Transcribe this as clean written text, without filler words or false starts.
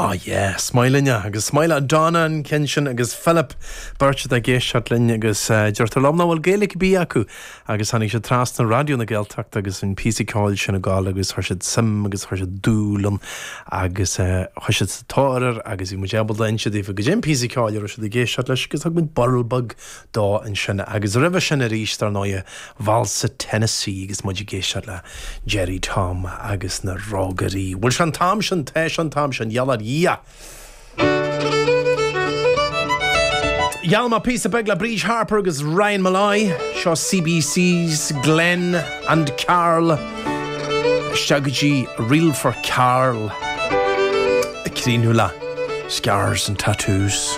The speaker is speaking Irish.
Oh yeah, is maith linne agus is maith le Donna an ceann sin agus Philip, beirt atá ag éisteacht linn agus deirtear liom nach bhfuil Gaeilge ar bith acu agus tháinig siad trasna Raidió na Gaeltachta agus an píosa ceoil sin ag gabháil agus chuir siad suim agus chuir siad dúil ann agus chuaigh siad sa tóir air agus bhí muid ábalta inse daofa goidé an píosa ceoil a raibh siad ag éisteacht leis agus thug muid burl beag dó ansin agus roimhe sin arís dar ndóighe Válsa Tennessee agus muid ag éisteacht le Gerry Tom agus na Rógairí. Bhfuil sé an t-am sin? Tá sé an t-am sin, gheall ar Dhia! Gheall mé píosa beag le Bríd Harper agus Ryan Molloy, seo CBC's Glen and Carl isteach go dtí Reel for Carl ag críochnú le Scars and Tattoos.